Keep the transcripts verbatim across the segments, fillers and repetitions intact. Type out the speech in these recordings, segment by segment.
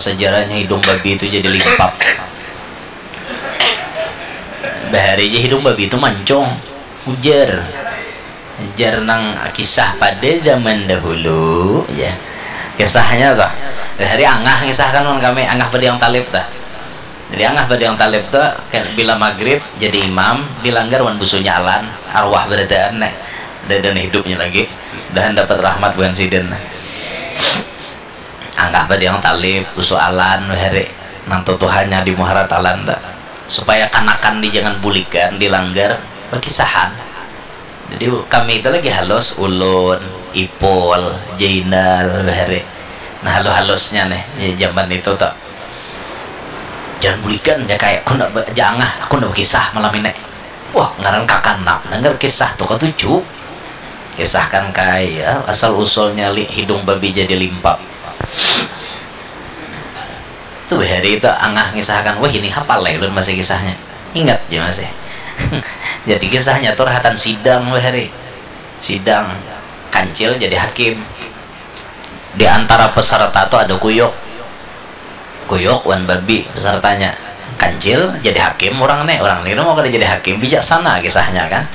Sejarahnya hidung babi itu jadi limpap. Bahari aja hidung babi itu mancung, ujar. Ujar nang kisah pada zaman dahulu, ya. Kisahnya tuh, bahari Angah ngisahkan lawan kami, Angah Padiang Talib tuh. Jadi Angah Padiang Talib tuh, kayak bila maghrib jadi imam, dilanggar wan busunya Alan, arwah berataan nih. Dan hidupnya lagi, dan dapat rahmat bukan sidin. Angah Padiang Talib, busu Alan, bahari nang tutuhannya di Muhara Talan tuh. Supaya kanakan di jangan bulikan, dilanggar, bakisahan. Jadi kami itu lagi halus, ulun, Ipul, Jainal, bahari. Nah, halus-halusnya nih, ya, zaman itu tuh. Jangan bulikan, ya, kayak aku nak ba-, jangan, aku nak berkisah malam ini. Wah, ngaran kakanak, dengar kisah tuh katuju. Kisahkan kaya asal usulnya li-, hidung babi jadi limpap. Tuh bahari itu Angah ngisahkan, wah, ini hapal lah ulun masih kisahnya. Ingat aja masih. Jadi kisahnya tuh rahatan sidang bahari. Sidang. Kancil jadi hakim. Di antara peserta tuh ada Kuyuk. Kuyuk wan babi pesertanya. Kancil jadi hakim orang nih, orang ini mau kada jadi hakim, bijaksana kisahnya kan.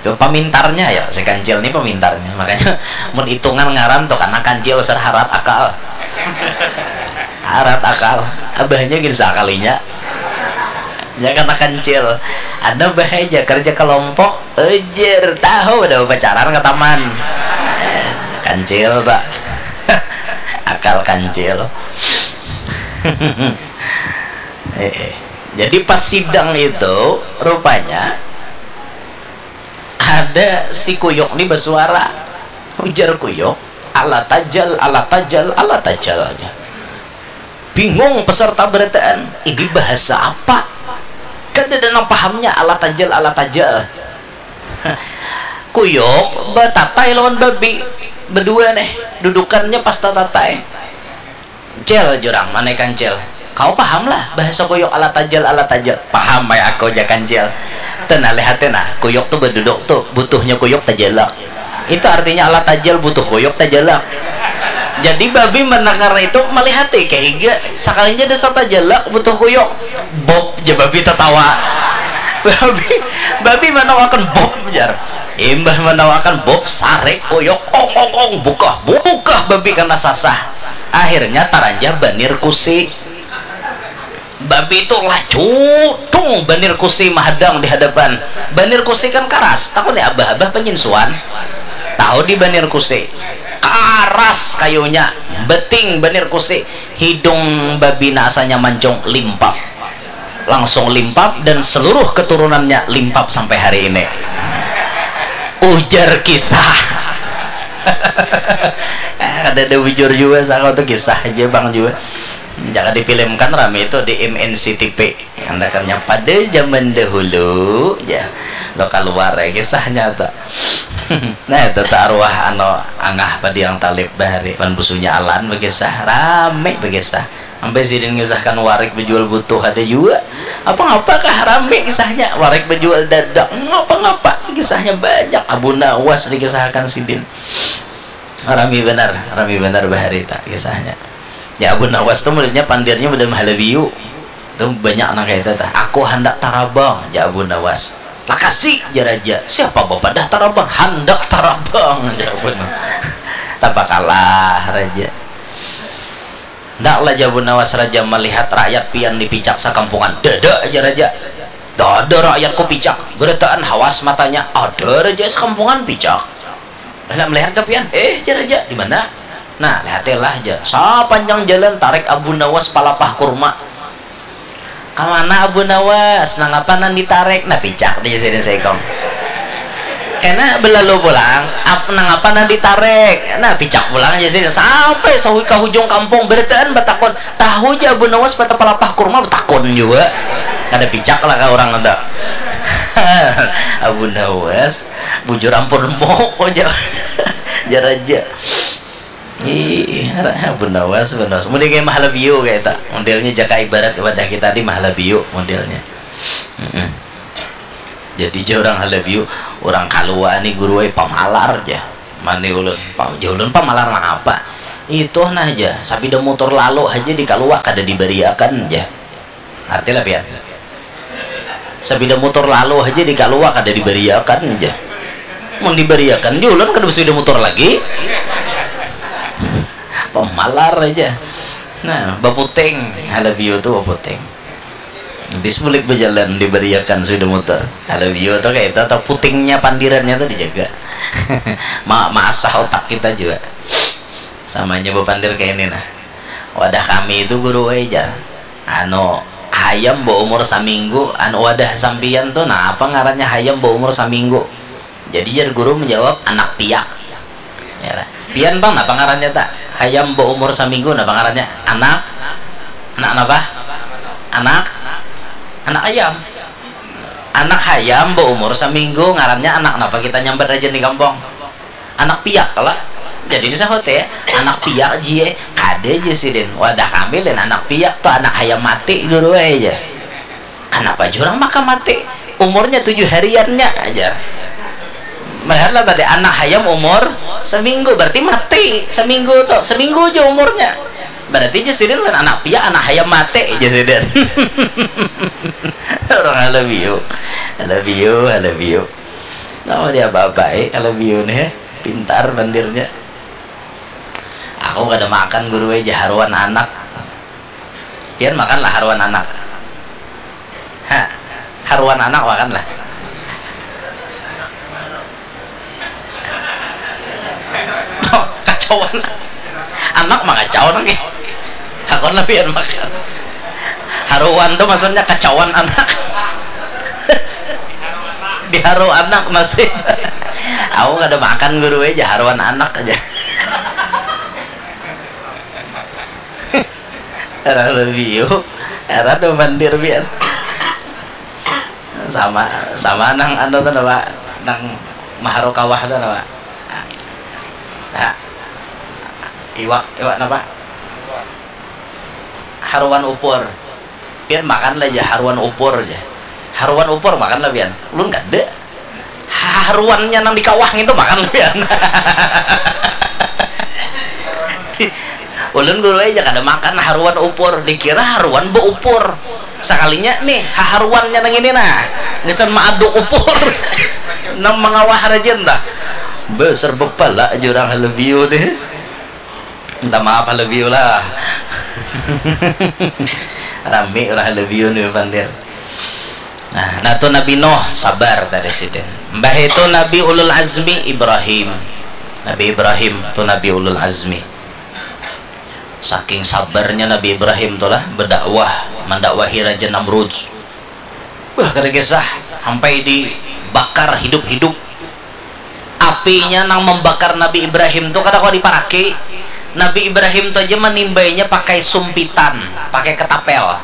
Itu pemintarnya ya, si Kancil ini pemintarnya. Makanya mun hitungan ngaran tuh karena Kancil ser harat akal. Harat akal. Abahnya gin sakalinya. Ya karena Kancil. Ada bahaya kerja kelompok, ujar tahu udah pacaran ke taman. Kancil tak. Akal Kancil. Eh, eh. Jadi pas sidang itu rupanya ada si Kuyuk nih bersuara, ujar Kuyuk, "Ala tajal, ala tajal, ala tajal," aja. Bingung peserta berataan, ini bahasa apa? Kada ada nang pahamnya, ala tajal, ala tajal. Kuyuk batatai lawan babi, berdua nih, dudukannya pas tatatai. Cil, jurang, mana Kancil? Kau paham lah bahasa Kuyuk, ala tajal, ala tajal. Paham ai aku, ja Kancil. Tenang, lihat nah, Kuyuk tuh berduduk tuh, butuhnya Kuyuk tajalak. Itu artinya ala tajal, butuh Kuyuk tajalak. Jadi babi mendengar itu melihati kayak higa, sakalinya dasar tajalak butuh Kuyuk. Bob, ja babi tertawa. Babi, babi manawakan Bob, jar. Imbah manawakan Bob, sarik Kuyuk, ong, ong, ong, bukah, bukah babi kena sasah. Akhirnya taranjah banir kusi. Babi itu laju tung banir kusi mahadang di hadapan. Banir kusi kan karas, tahu nih abah-abah penyinsuan. Tahu di banir kusi. Karas kayunya, beting banir kusi. Hidung babi nasanya mancung limpap. Langsung limpap dan seluruh keturunannya limpap sampai hari ini. Ujar kisah. Ada ada bujur juga, saka tuh kisah aja bang juga. Jangan difilmkan rame itu di M N C T V. Andakannya pada zaman dahulu, ya, lo keluar ya kisahnya tuh. Nah, itu tuh arwah anu Angah Padiang Talib bahari, wan busunya Alan berkisah, rame berkisah. Sampai sidin ngisahkan warik berjual butuh ada juga. Apa ngapa kah rame kisahnya? Warik berjual dadak, ngapa-ngapa kisahnya banyak. Abu Nawas dikisahkan sidin. Rami benar, rami benar bahari tak kisahnya. Ya Abu Nawas tuh muridnya pandirnya udah mahalabiu. Tuh banyak nang kayak itu tah. Aku handak tarabang, ja Abu Nawas. Lakasi, ja raja. Siapa bapadah tarabang? Handak tarabang, ja Abu Nawas. Tapa kalah raja. Ndak lah, ja Abu Nawas, raja melihat rakyat pian dipicak sakampungan. Dada aja raja. Dada rakyatku picak. Berataan hawas matanya. Ada raja sakampungan picak. Nak melihat ke pian? Eh, ja raja, di mana? Nah, lihatilah ja. Sapanjang jalan tarik Abu Nawas palapah kurma. Kamana Abu Nawas? Nangapa nang ditarik? Nah, picak dia sidin saikung. Kena belalu pulang, ap, nangapa nang ditarik? Nah, picak pulang aja sidin. Sampai sahui ka hujung kampung, berataan batakun. Tahu ja Abu Nawas pada palapah kurma, batakun juga. Kada picak lah ka orang ada. Abu Nawas, bujur ampun mau aja. Jar aja. Ih, Abu Nawas, Abu Nawas. Model kayak mahalabiu kayak tak. Modelnya jaka ibarat wadah kita di mahalabiu modelnya. Mm-mm. Jadi ja orang halabiu, orang kalua nih guru ai pamalar ja. Mani ulun, pam, ja ulun pamalar nang apa? Itu nah ja, sapida mutur lalu haja di kaluwa kada dibariakan ja. Arti lah pian. Sapida mutur lalu haja di kaluwa kada dibariakan ja. Mun dibariakan ja ulun kada basapida mutur lagi. Pamalar aja. Nah, baputing, halabiu tu baputing. Habis bulik bajalan dibariakan sapida mutur. Halabiu tu kayak itu atau putingnya pandirannya tu dijaga. Ma maasah otak kita juga. Samanya bapandir kayak ini nah. Wadah kami itu guru wae jar. Anu hayam baumur saminggu, anu wadah sampiyan tu nah apa ngarannya hayam baumur saminggu? Jadi jar guru menjawab anak piak. Ya lah. Pian bang napa ngarannya tak? Hayam baumur saminggu napa ngarannya? Anak anak napa? Anak anak ayam. Anak hayam baumur saminggu ngarannya anak napa kita nyambat aja di kampung? Anak piak lah. Jadi disahut ya, anak piak jie. Kada aja sidin. Wadah kami lain anak piak tuh anak hayam mati guru aja. Kenapa jurang maka mati? Umurnya tujuh hariannya aja. Melihatlah tadi anak hayam umur seminggu berarti mati seminggu tuh seminggu aja umurnya. Berarti aja sidin lain anak piak anak hayam mati aja sidin. Orang halabiu, halabiu, halabiu. Nama dia babai kalau biu nih, pintar bandirnya. Aku kada makan guru aja haruan anak. Pian makanlah haruan anak. Ha, haruan anak makanlah. Kacauan. Anak mangacau nang ya. Hakon lah pian makan. Haruan tuh maksudnya kacauan anak. Diharu anak masih. Aku kada makan guru aja haruan anak aja. Era lebih yuk. Era do mandir pian. Sama sama nang anu tuh apa? Nang maharu kawah tuh apa? Nah, iwak iwak apa? Haruan upur. Pian makan lah ya haruan upur aja. Haruan upur makan lah pian. Ulun kada. Haruannya nang di kawah itu makan lah pian. Ulun guru aja kada makan haruan upur dikira haruan beupur. Sakalinya nih haharuannya nang ini nah ngesan maaduk upur. Nang mengawah rajin dah. Besar bepala aja orang halebiu nih. Minta maaf halebiu lah. Rami orang halebiu nih pandir. Nah, nah tu Nabi Nuh sabar tadi sidin. Mbah itu Nabi Ulul Azmi Ibrahim. Nabi Ibrahim tu Nabi Ulul Azmi. Saking sabarnya Nabi Ibrahim tulah berdakwah, mendakwahi Raja Namrud. Wah, kada kisah sampai dibakar hidup-hidup. Apinya nang membakar Nabi Ibrahim tu kada kau diparaki. Nabi Ibrahim tu aja manimbainya pakai sumpitan, pakai ketapel.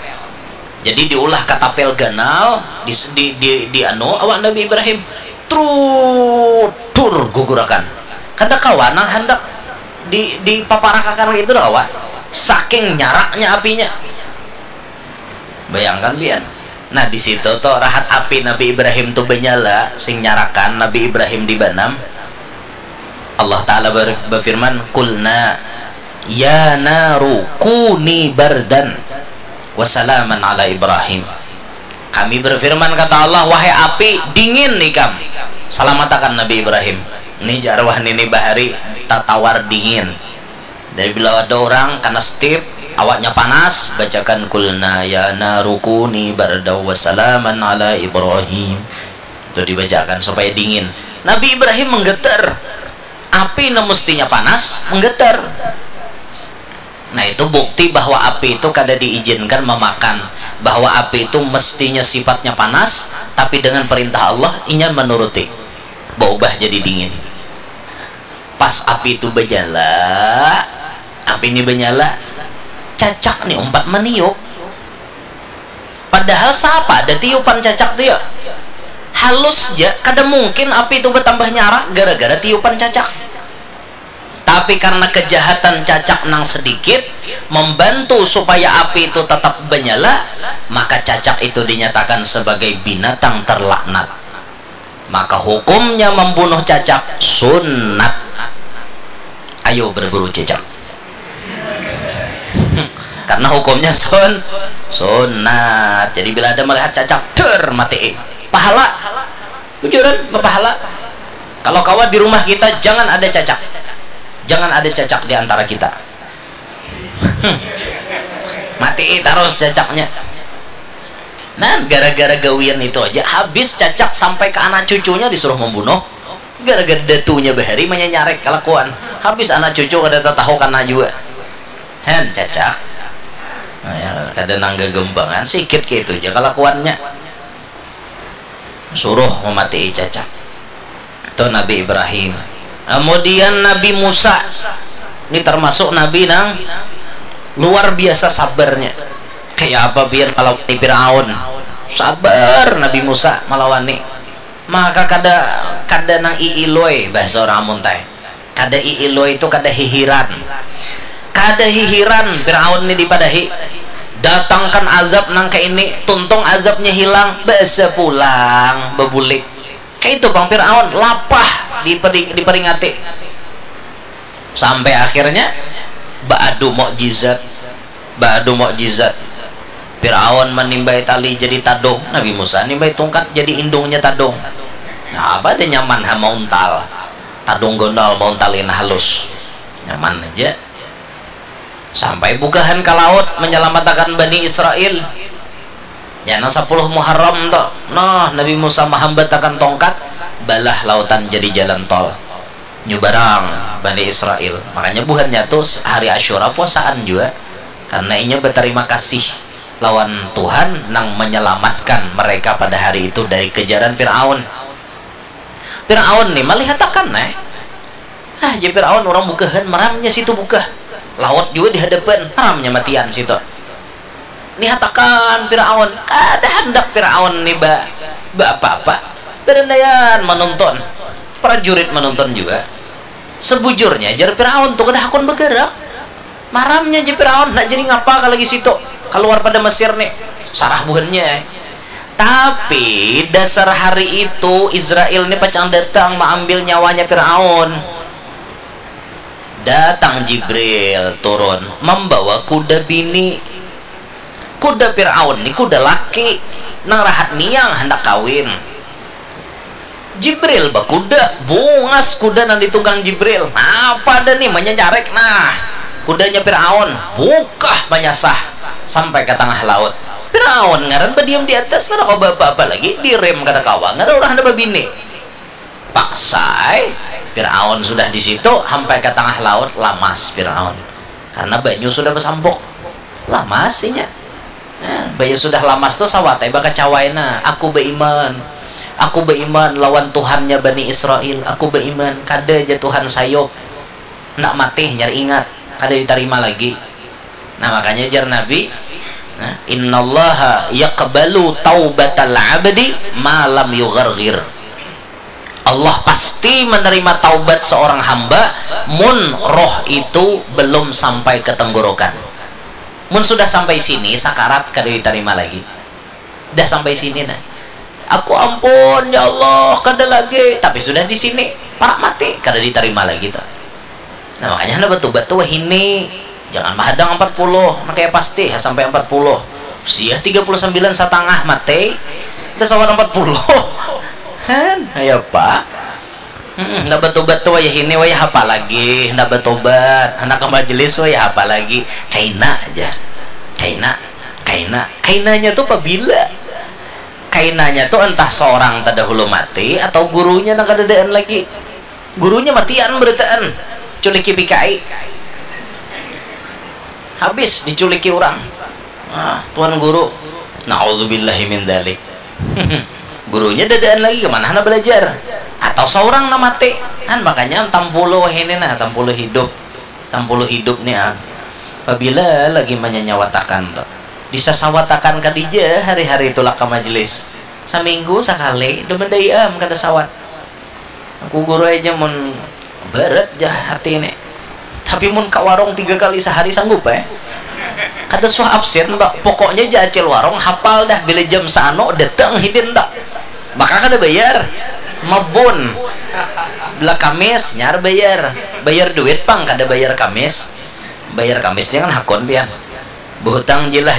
Jadi diulah ketapel ganal di di di, di anu awak Nabi Ibrahim. Trutur gugurakan. Kada kawa nang handak di di paparakakan itu dah kawa. Saking nyaraknya apinya. Bayangkan pian. Nah di situ tuh rahat api Nabi Ibrahim tuh benyala sing nyarakan Nabi Ibrahim di banam. Allah Ta'ala ber- berfirman, "Kulna ya naru kuni bardan wasalaman ala Ibrahim." Kami berfirman kata Allah, "Wahai api, dingin ikam. Salamatakan Nabi Ibrahim." Ini jarwah nini bahari tatawar dingin. Dari bila ada orang kena stip, awaknya panas, bacakan kulna ya narukuni bardaw wasalaman ala Ibrahim. Itu dibacakan supaya dingin. Nabi Ibrahim menggetar. Api yang mestinya panas menggetar. Nah itu bukti bahwa api itu kada diizinkan memakan, bahwa api itu mestinya sifatnya panas, tapi dengan perintah Allah inya menuruti, berubah jadi dingin. Pas api itu berjala, api ini bernyala, cacak nih umpat meniup. Padahal siapa ada tiupan cacak tuh ya? Halus ja, kada mungkin api itu bertambah nyarak gara-gara tiupan cacak. Tapi karena kejahatan cacak nang sedikit membantu supaya api itu tetap menyala, maka cacak itu dinyatakan sebagai binatang terlaknat. Maka hukumnya membunuh cacak sunat. Ayo berburu cacak. Karena hukumnya sun sunat. Jadi bila ada melihat cacak, ter, mati. Pahala. Bujuran, berpahala. Kalau kawa di rumah kita, jangan ada cacak. Jangan ada cacak di antara kita. Mati terus cacaknya. Nah, gara-gara gawian itu aja, habis cacak sampai ke anak cucunya disuruh membunuh. Gara-gara datunya bahari menyanyarek kelakuan. Habis anak cucu kada tatahu kana jua. Hen, cacak. Nah, ya, kada nang gagembangan, sikit gitu aja kelakuannya. Suruh mematii cacak. Itu Nabi Ibrahim. Kemudian Nabi Musa. Ini termasuk Nabi nang luar biasa sabarnya. Kayak apa biar kalau Fir'aun. Sabar Nabi Musa malawani. Maka kada, kada nang iiloi bahasa orang Amun teh. Kada iiloi itu kada hihiran. Kada hihiran Firaun ni dipadahi. Datangkan azab nang kaini, tuntung azabnya hilang, basa pulang, babulik. Kaitu pang Firaun, lapah diperi-, diperingati. Sampai akhirnya baadu mukjizat. Baadu mukjizat. Firaun manimbai tali jadi tadung, Nabi Musa nimbai tungkat jadi indungnya tadung. Nah, apa ada nyaman ha mauntal. Tadung gondol mauntal ini halus. Nyaman aja. Sampai bugahan ka laut manyalamatakan Bani Israil. Jana sapuluh Muharram tu. Nah, Nabi Musa mahambatakan tongkat, balah lautan jadi jalan tol. Nyubarang Bani Israil. Makanya buhannya tu hari Asyura puasaan jua. Karena inya batarima kasih lawan Tuhan nang manyalamatkan mereka pada hari itu dari kejaran Firaun. Firaun ni malihatakan, eh. Ah, jar Firaun, urang bugahan, maramnya situ bugah. Laut jua di hadapan, maramnya matian situ. Nihatakan Firaun, kada handak Firaun ni ba, ba apa-apa. Badandaian manonton. Prajurit manonton jua. Sebujurnya, jar Firaun tu kada hakun bagarak. Maramnya ja Firaun, nak jadi ngapa ka lagi situ, kaluar pada Mesir ni, sarah buhannya ai. Tapi dasar hari itu Izrail ni pacang datang maambil nyawanya Firaun. Datang Jibril turun mambawa kuda bini. Kuda Firaun ni kuda laki nang rahat niang handak kawin. Jibril bakuda, bungas kuda nang ditunggang Jibril. Napa ada ni, manyanyarek nah. Kudanya Firaun bukah manyasah sampai ka tangah laut. Firaun ngaran badiam di atas, kada kawa baapa-apa lagi, direm kada kawa, ngaran urang handak babini. Paksa ai, Firaun sudah di situ, sampai ka tangah laut, lamas Firaun. Karena banyu sudah basampuk. Lamas inya. Nah, baya sudah lamas tu sawat ai bakacawa ai nah, aku baiman. Aku baiman lawan Tuhannya Bani Israil. Aku baiman, kada ja Tuhan sayup. Handak mati hanyar ingat, kada ditarima lagi. Nah, makanya jar Nabi, nah, innallaha yaqbalu taubatal abdi ma lam yugharghir. Allah pasti menerima taubat seorang hamba mun roh itu belum sampai ke tenggorokan. Mun sudah sampai sini, sakarat kada ditarima lagi. Dah sampai sini nah. Aku ampun ya Allah, kada lagi. Tapi sudah di sini, parak mati, kada ditarima lagi tuh. Nah, makanya handak batubat tuh wahini. Jangan mahadang empat puluh, nah kayak pasti ha sampai empat puluh. Usia tiga puluh sembilan satangah mati, dah sawat empat puluh. Han, ayo apa? Hmm, handak batubat tuh wayah ini, wayah apa lagi? Handak batubat, handak ke majelis, wayah apa lagi? Kaina aja. Kaina, kaina. Kainanya tuh pabila? Kainanya tuh entah seorang terdahulu mati atau gurunya nang kadadaan lagi. Gurunya matian berataan, culiki P K I. Habis diculiki orang. Ah, tuan guru. Naudzubillahi min dzalik. Gurunya dadaan lagi, kemana handak belajar? Atau seorang nang mati. Kan makanya tampulu ini nah, tampulu hidup. Tampulu hidup nih ah. Pabila lagi manyanyawatakan tuh. Disasawatakan kadija hari-hari tulak ke majelis. Saminggu sakali, demen dai am kada sawat. Aku guru aja mun berat jah hati ini. Tapi mun ke warung tiga kali sehari sanggup eh. Kada suah absen tak. Pokoknya ja acil warung hafal dah bila jam sano datang hidin tak. Maka kada bayar. Mabun. Bila Kamis nyar bayar. Bayar duit pang kada bayar Kamis. Bayar Kamis jangan hakun pian. Behutang jilah